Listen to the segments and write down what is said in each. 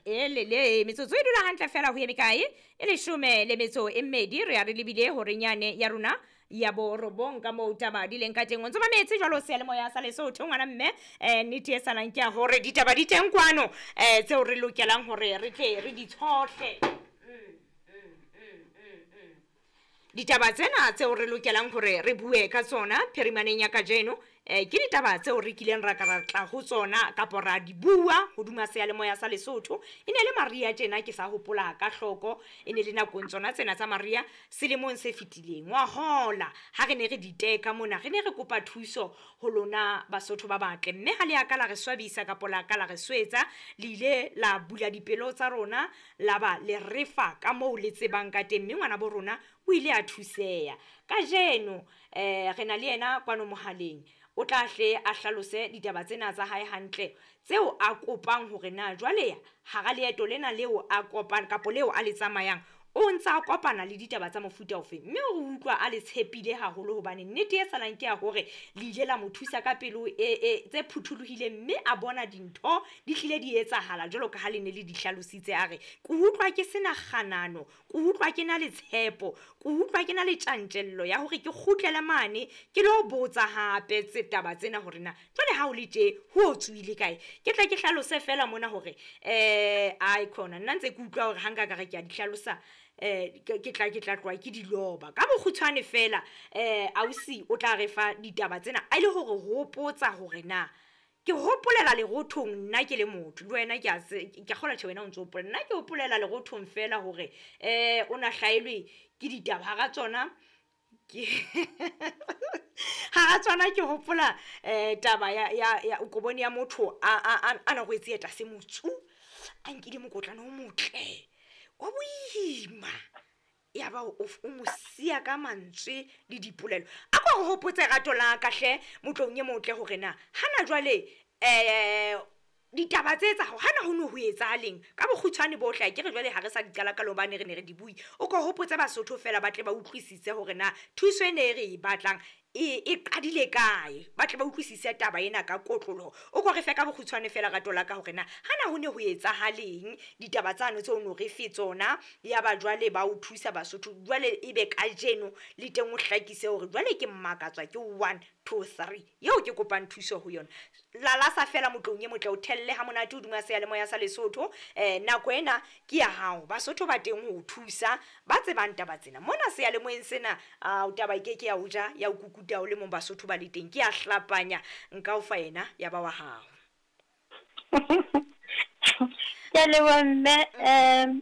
Elele metsotso e dula hantle fela ho ye mekae e leshome le metso e mmedi, re ya re lebile horeng yane ya rona ya borobong ka moo taba di leng ka teng. O ntso mametse jwalo seyalemoya sa Lesotho, ngwana mme. Nnete e salang ke ya hore ditaba di teng kwano tseo re lokelang hore re tle re di tshohle. Ditaba tsena tseo re lokelang hore re bue ka tsona phirimaneng ya kajeno, ke ditaba tseo re kileng ra ka ra tla ho tsona kapo ra di bua hodima seyalemoya sa Lesotho. E ne le Maria tjena, ke sa hopola ka hloko, e ne le nakong tsona tsena tsa Maria selemong se fetileng. Wa hola ha re ne re di teka mona, re ne re kopa thuso ho lona Basotho ba batle, mme ha le a ka la re swabisa kapo la ka la re swetsa. Le ile la bula dipelo tsa rona, la ba le refa ka moo le tsebang ka teng, mme ngwana bo rona o ile a thuseha. Kajeno re na le yena kwano mohaleng, o tla hle a hlalose ditaba tsena tsa hae hantle tseo a kopang hore na jwale hara leeto lena leo a kopang kapo leo a le tsamayang, o ntsa kopana le ditaba tsa mofuta ofe. Mme o utlwa a le tshepile haholo, hobane nnete e salang ke ya hore le ile la mo thusa ka pelo e tse phuthulohileng, mme a bona dintho di hlile di etsahala jwalo ka ha le ne le di hlalositse. A re ke utlwa ke sena kganano, ke utlwa ke na le tshepo, ke utlwa ke na le tjantjello ya hore ke kgutlele mane ke lo botsa hape tse taba tsena hore na jwale ha o le tje ho o tswile kae. Ke tle ke hlalose fela mona hore ai khona nna ntse ke utlwa hore ha nka ka re ke a di hlalosa, ke tla tloha ke di loba ka bokgutshwane fela. Ausi o tla re fa ditaba tsena a ile hore hopotsa hore na ke hopolela lerothong nna ke le motho le wena ke a ke kgolwa tjhe wena o ntso hopola, nna ke hopolela lerothong fela hore o na hlaelwe ke ditaba hara tsona ke hara tsona ke hopola taba ya o ko bone ya motho a na rwetse eta se motsu, a nkile mokotlana o motle o boima, ya ba o mo siya ka mantswe le dipolelo. A ko re hopotse rato la ka hle motlong e motle hore na hana jwale ditaba tse etsa hana ho no ho etsahaleng ka bokgutshwane bohle. A ke re jwale ha re sa di qala ka lobane re ne re di bui, o ko hopotse Basotho fela ba tle ba utlwisise hore na thuso e ne re e batlang e qadile kae, ba tle ba utlwisise taba ena ka kotloloho. O ko re fe ka bokgutshwane fela rato la ka hore na hana ho ne ho etsahaleng ditaba tsano tseo no re fe tsona, ya ba jwale ba o thusa Basotho. Jwale ebe kajeno le teng o hlakise hore jwale ke mmakatswa ke 1 2 3 eo ke kopang thuso ho yona. Lalasa fela motlong e motle, o thelle ha monate hodima seyalemoya sa Lesotho. Nako ena ke ya hao, Basotho ba teng ho o thusa ba tsebang taba tsena mona seyalemoyeng sena. A taba e ke ke ya o ja ya o kukuta o le mong, Basotho ba le teng. Ke a hlapanya nka o fa yena ya ba wa hao. Ke a leboha mme.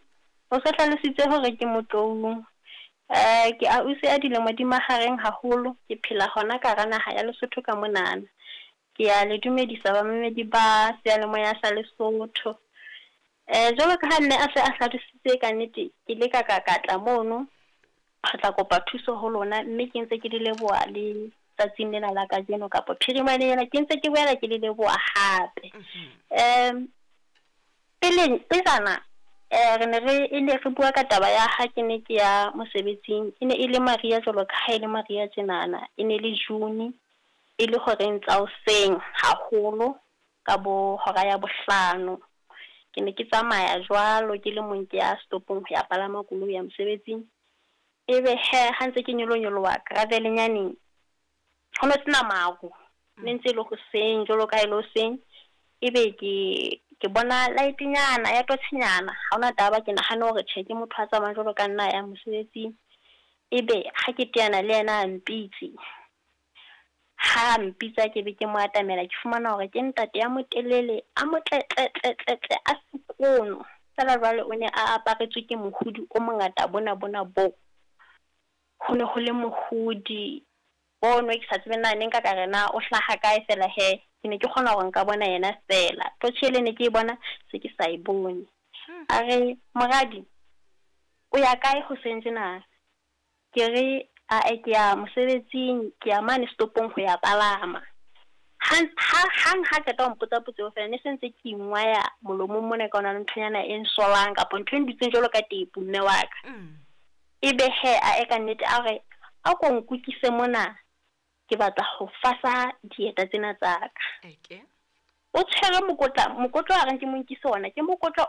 O sa hlalositse hore ke Motloung. Ke ausi a dilemo di mahareng haholo, ke phela hona ka hara naha ya Lesotho ka monana. Ke a le dumedisa bamamedi ba seyalemoya sa Lesotho. Jwalo ka ha mme a se a hlalositse, ka nnete ke ile ka tla mono re tla kopa thuso ho lona, mme ke ntse ke le leboha le tsatsing lena la kajeno kapa phirimaneng ena, ke ntse ke boela ke le leboha hape. Peleng pejana re ne re e ne re bua ka taba ya ha ke ne ke ya mosebetsing, e ne e le Maria jwalo ka ha e le Maria tjenana, e ne le June, e le horeng tsa hoseng haholo ka bo hora ya bohlano. Ke ne ke tsamaya jwalo ke le mong ke ya stopong ho ya palama koloi ya mosebetsing. Ebe he ha ntse ke nyolonyoloha gravel-nyaneng, ho no sena maru, ne ntse e le hoseng jwalo ka ha e le hoseng. Ebe ke bona light-nyana ya totjhenyana, ha hona taba, ke nahane hore tjhe ke motho a tsamayang jwalo ka nna ya mosebetsing. Ebe ha ke teana le yena a mpitse, ha mpitsa ke be ke mo atamela, ke fumana hore ke ntate ya motelele a motle tle tle tle tle a sekono. Feela jwale o ne a aparetswe ke mohodi o mongata bona bona bo. Ho ne ho le mohodi ono ke sa tsebe na ne nka ka re na o hlaha kae, fela he ke ne ke kgona hore nka bona yena fela. Totjhe ele ne ke e bona se ke sa e bone. A re, moradi o ya kae hoseng tjena? Ke re ae ke ya mosebetsing, ke ya mane stopong ho ya palama. Hang ha qeta ho mpotsa potso eo fela, ne se ntse ke ingwaya molomong mona ka ona le nthonyana e nsolang kapa ntho e ndutseng jwalo ka tepu mme wa ka. Ebe he a e ka nnete a re a ko nkukise mona, ke batla ho fasa dieta tsena tsa ka. O tshwere mokotla, mokotla wa reng ke mo nkise ona, ke mokotla